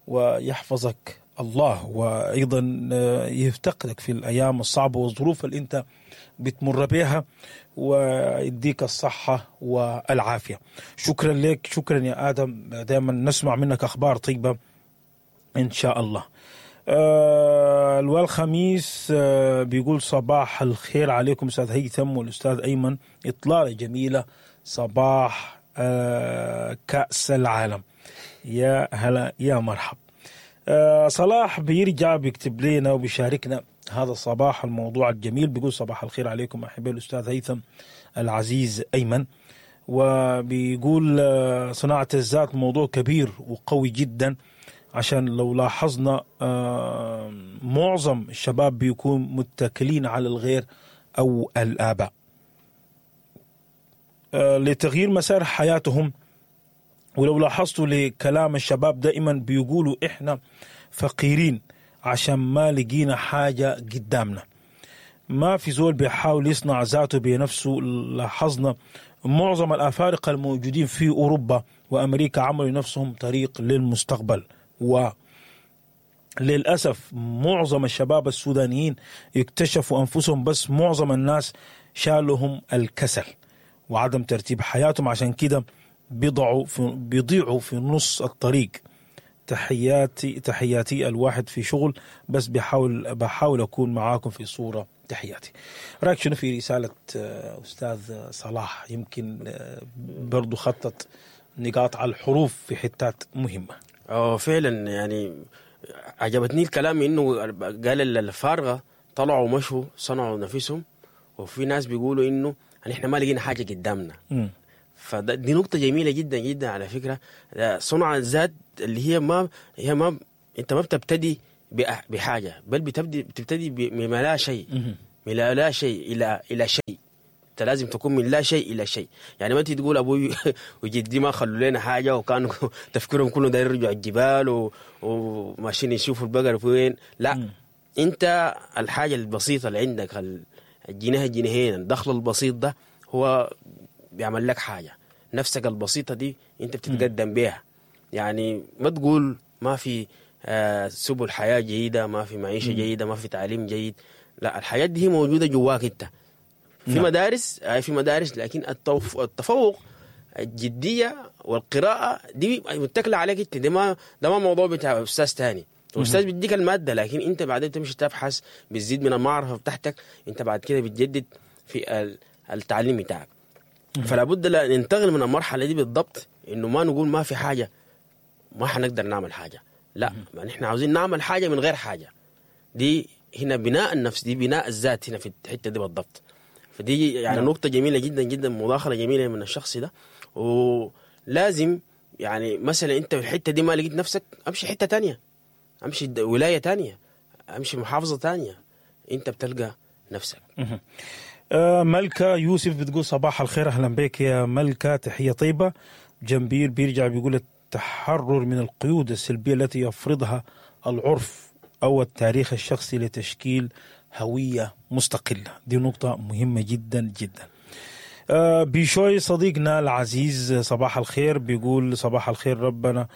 ويحفظك الله، وأيضا آه، يفتقدك في الأيام الصعبة والظروف اللي أنت بتمر بها، ويديك الصحة والعافية. شكرا لك، شكرا يا آدم، دائما نسمع منك أخبار طيبة إن شاء الله. آه الخميس آه بيقول صباح الخير عليكم أستاذ هيثم والأستاذ أيمن، إطلالة جميلة صباح آه كأس العالم. يا هلا يا مرحب. آه صلاح بيرجع بيكتب لنا وبيشاركنا هذا الصباح الموضوع الجميل، بيقول صباح الخير عليكم أحبائي الأستاذ هيثم العزيز أيمن، وبيقول آه، صناعة الذات موضوع كبير وقوي جدا، عشان لو لاحظنا آه، معظم الشباب بيكون متكلين على الغير أو الآباء آه، لتغيير مسار حياتهم. ولو لاحظتوا لكلام الشباب دائما بيقولوا إحنا فقيرين عشان ما لقينا حاجة قدامنا. ما في زول بيحاول يصنع ذاته بنفسه. لاحظنا معظم الأفارقة الموجودين في أوروبا وأمريكا عملوا نفسهم طريق للمستقبل، وللأسف معظم الشباب السودانيين اكتشفوا أنفسهم، بس معظم الناس شالهم الكسل وعدم ترتيب حياتهم، عشان كده بيضعوا في بيضيعوا في نص الطريق. تحياتي تحياتي الواحد في شغل بس بحاول بحاول اكون معاكم في صوره. تحياتي. رايك شنو في رسالة آه، استاذ صلاح؟ يمكن آه، برضو خطت نقاط على الحروف في حتات مهمة. اه فعلا يعني عجبتني الكلام انه قال الفارغة طلعوا مشوا صنعوا نفسهم، وفي ناس بيقولوا انه احنا ما لقينا حاجة قدامنا. فدي نقطة جميلة جدا جدا على فكرة، صنع الذات اللي هي ما هي ما انت ما بتبتدي بحاجة، بل بتبدي بتبتدي بما لا شيء، من لا شيء الى الى شيء. انت لازم تكون من لا شيء الى شيء. يعني ما انت تقول ابوي وجدي ما خلوا لنا حاجة وكانوا تفكيرهم كله داير يرجعوا الجبال و... وماشيين يشوفوا البقر فين. لا م. انت الحاجة البسيطة اللي عندك، الجنيه الجنيهين، الدخل البسيط ده هو بيعمل لك حاجة. نفسك البسيطة دي انت بتتقدم بيها. يعني ما تقول ما في آه سبل حياة جيدة، ما في معيشة م. جيدة، ما في تعليم جيد. لا، الحياة دي هي موجودة جواك انت. في نعم. مدارس، في مدارس، لكن التفوق الجدية والقراءة دي متكلة عليك انت. ده ما ده ما موضوع بتاع استاذ تاني. الاستاذ بيديك المادة، لكن انت بعدين تمشي تبحث، بتزيد من المعرفة بتاعتك، انت بعد كده بتجدد في التعليم بتاعك. فلا بد ننتقل من المرحلة دي بالضبط، انه ما نقول ما في حاجة ما حنقدر نعمل حاجة. لا، ما نحن عاوزين نعمل حاجة من غير حاجة. دي هنا بناء النفس، دي بناء الذات هنا في الحتة دي بالضبط. فدي يعني نعم. نقطة جميلة جدا جدا، مداخلة جميلة من الشخص ده. ولازم يعني مثلا انت في الحتة دي ما لقيت نفسك، امشي حتة تانية، امشي ولاية تانية، امشي محافظة تانية، انت بتلقى نفسك. ملكة يوسف بتقول صباح الخير، اهلا بك يا ملكة، تحية طيبة. جنبير بيرجع بيقول التحرر من القيود السلبية التي يفرضها العرف أو التاريخ الشخصي لتشكيل هوية مستقلة، دي نقطة مهمة جدا جدا. آه بيشوي صديقنا العزيز صباح الخير، بيقول صباح الخير، ربنا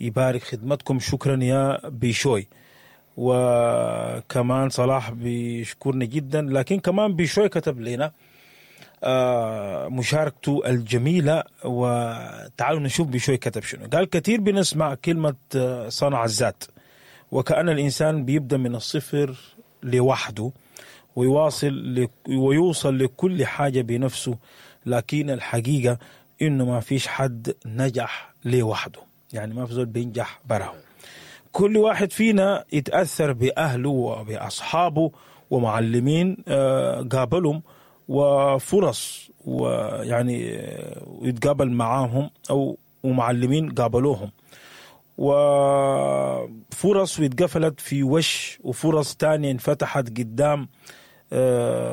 يبارك خدمتكم، شكرا يا بيشوي. وكمان صلاح بيشكرنا جدا، لكن كمان بيشوي كتب لنا آه مشاركته الجميلة، وتعالوا نشوف بيشوي كتب شنو. قال كثير بنسمع كلمة صنع الذات، وكأن الإنسان بيبدأ من الصفر لوحده ويواصل ويوصل لكل حاجة بنفسه، لكن الحقيقة إنه ما فيش حد نجح لوحده، يعني ما في زول بينجح براه. كل واحد فينا يتأثر بأهله وبأصحابه ومعلمين قابلهم وفرص، ويعني يتقابل معاهم أو ومعلمين قابلوهم، وفرص واتقفلت في وش، وفرص تانية انفتحت قدام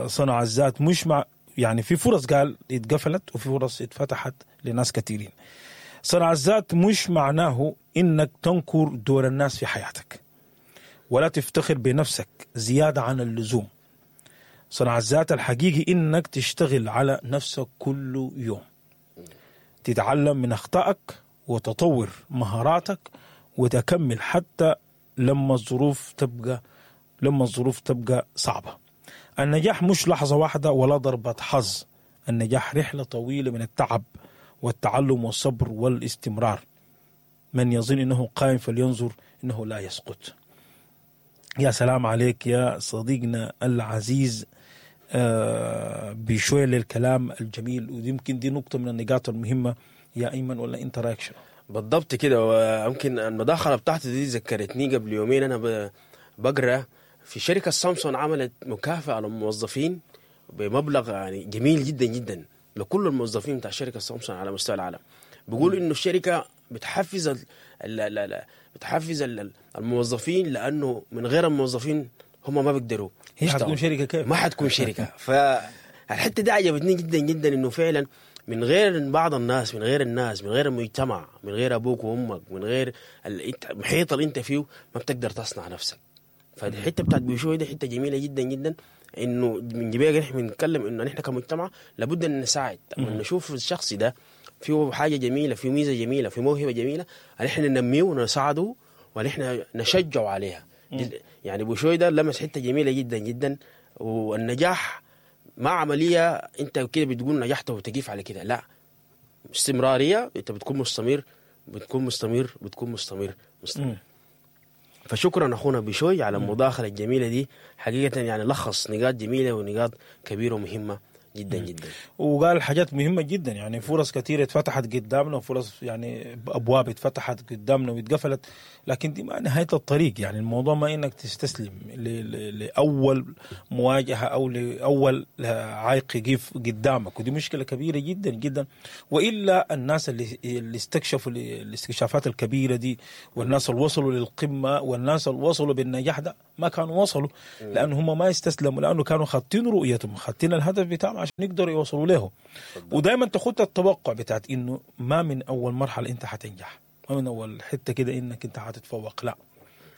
صنع الذات. مش مع يعني في فرص قال اتقفلت وفي فرص اتفتحت لناس كثيرين. صنع الذات مش معناه انك تنكر دور الناس في حياتك ولا تفتخر بنفسك زيادة عن اللزوم. صنع الذات الحقيقي انك تشتغل على نفسك كل يوم، تتعلم من اخطائك وتطور مهاراتك وتكمل حتى لما الظروف تبقى لما الظروف تبقى صعبة. النجاح مش لحظة واحدة ولا ضربة حظ، النجاح رحلة طويلة من التعب والتعلم والصبر والاستمرار. من يظن انه قائم فلينظر انه لا يسقط. يا سلام عليك يا صديقنا العزيز بشوية للكلام الجميل، ويمكن دي نقطة من النقاط المهمة يا أيمن، ولا أنت رأيك شنو؟ بالضبط كده. ويمكن المداخلة بتاعتي دي ذكرتني قبل يومين أنا بقرأ في شركة سامسونج عملت مكافأة للموظفين بمبلغ يعني جميل جدا جدا لكل الموظفين بتاع شركة سامسونج على مستوى العالم. بيقولوا إنه الشركة بتحفز ال ال بتحفز ال الموظفين، لأنه من غير الموظفين هم ما بيقدروا. هي حتكون شركة كيف؟ ما حتكون شركة. فالحتة دي عجبتني جدا جدا، إنه فعلا من غير بعض الناس، من غير الناس، من غير المجتمع، من غير أبوك وأمك، من غير المحيط اللي أنت فيه، ما بتقدر تصنع نفسك. فالحتة بتاعت بيشوي دي حتة جميلة جدا جدا، إنه من جبيه نحن بنتكلم إنه نحن كمجتمع لابد أن نساعد، ونشوف الشخص ده فيه حاجة جميلة، فيه ميزة جميلة، فيه موهبة جميلة، نحن ننميه ونساعده ونحن نشجعه عليها. يعني بوشوي ده لمس حتة جميلة جدا جدا. والنجاح ما عملية انت كده بتقول نجحت وتقيف على كده، لا، استمرارية، انت بتكون مستمر بتكون مستمر بتكون مستمر مستمر. فشكرا اخونا بشوي على المداخلة الجميلة دي، حقيقة يعني لخص نقاط جميلة ونقاط كبيرة ومهمة جدا جدا. وقال حاجات مهمة جدا، يعني فرص كثيرة اتفتحت قدامنا وفرص يعني أبواب اتفتحت قدامنا واتقفلت، لكن دي ما نهاية الطريق. يعني الموضوع ما إنك تستسلم لأول مواجهة أو لأول عائق يقف قدامك، ودي مشكلة كبيرة جدا جدا. وإلا الناس اللي, اللي استكشفوا الاستكشافات الكبيرة دي، والناس اللي وصلوا للقمة، والناس اللي وصلوا بالنجاح ده ما كانوا وصلوا لأنه هم ما استسلموا، لأنه كانوا خاطين رؤيتهم، خاطين الهدف بتاعهم عشان يقدروا يوصلوا له. ودائما تخط التوقع بتاعت إنه ما من أول مرحلة أنت حتنجح، ما من أول حتة كده إنك أنت حتتفوق، لا،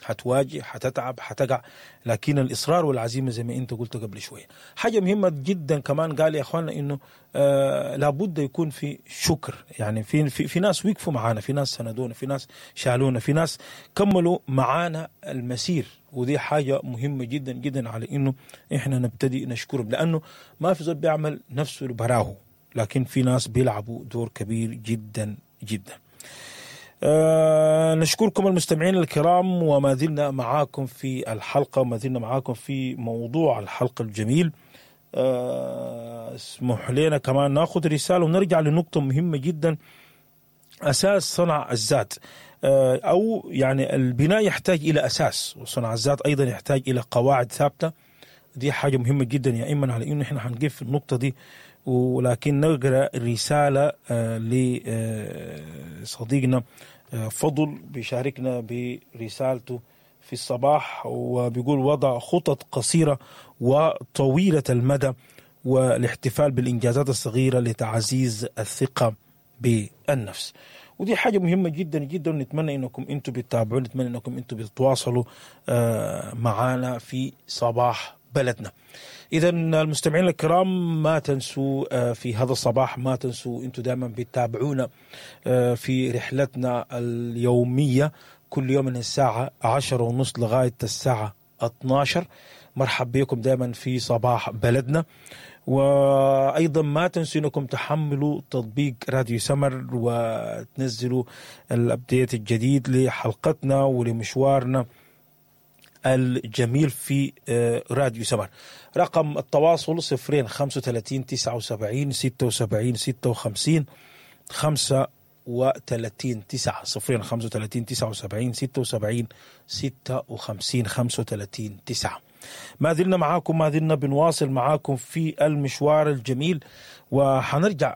حتواجه، حتتعب، حتقع، لكن الإصرار والعزيمة زي ما أنت قلت قبل شوية. حاجة مهمة جدا كمان قال يا أخوانا إنه آه لابد يكون في شكر. يعني في, في, في ناس وقفوا معانا، في ناس سندونا، في ناس شالونا، في ناس كملوا معانا المسير، ودي حاجة مهمة جدا جدا على إنه إحنا نبتدي نشكرهم، لأنه ما في زول بيعمل نفسه براه، لكن في ناس بيلعبوا دور كبير جدا جدا. آه نشكركم المستمعين الكرام، وما زلنا معاكم في الحلقة، وما زلنا معاكم في موضوع الحلقة الجميل. آه اسمح لنا كمان ناخذ رسالة ونرجع لنقطة مهمة جدا، أساس صنع الذات، آه أو يعني البناء يحتاج إلى أساس، وصنع الذات أيضا يحتاج إلى قواعد ثابتة. دي حاجة مهمة جدا يا إيمن، على إنه إحنا هنقف في النقطة دي، ولكن نقرأ رسالة لصديقنا فضل بيشاركنا برسالته في الصباح، وبيقول وضع خطط قصيرة وطويلة المدى والاحتفال بالإنجازات الصغيرة لتعزيز الثقة بالنفس. ودي حاجة مهمة جدا جدا، نتمنى انكم انتم بتتابعوا، نتمنى انكم انتم بتتواصلوا معنا في صباح بلدنا. إذا المستمعين الكرام ما تنسوا في هذا الصباح، ما تنسوا أنتم دائما بتتابعونا في رحلتنا اليومية كل يوم من الساعة عشرة ونص لغاية الساعة اثناشر. مرحب بكم دائما في صباح بلدنا. وأيضا ما تنسوا أنكم تحملوا تطبيق راديو سمر وتنزلوا ال update الجديد لحلقتنا ولمشوارنا الجميل في راديو سمر. رقم التواصل صفرين خمسة وثلاثين تسعة وسبعين ستة وسبعين ستة وخمسين خمسة وثلاثين تسعة، صفرين خمسة وثلاثين تسعة وسبعين ستة وسبعين ستة وخمسين خمسة وثلاثين تسعة. ما زلنا معاكم، ما زلنا بنواصل معاكم في المشوار الجميل، وحنرجع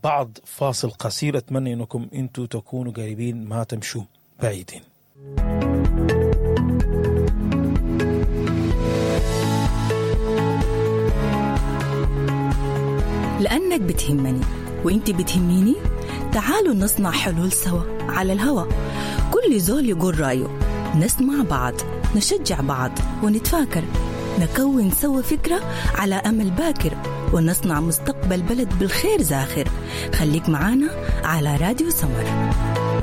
بعد فاصل قصير. أتمنى أنكم أنتوا تكونوا قريبين، ما تمشوا بعيدين. لأنك بتهمني وإنت بتهميني، تعالوا نصنع حلول سوا على الهوا. كل زول يقول رأيه، نسمع بعض، نشجع بعض، ونتفاكر، نكون سوا فكرة على أمل باكر، ونصنع مستقبل بلد بالخير زاخر. خليك معانا على راديو سمر.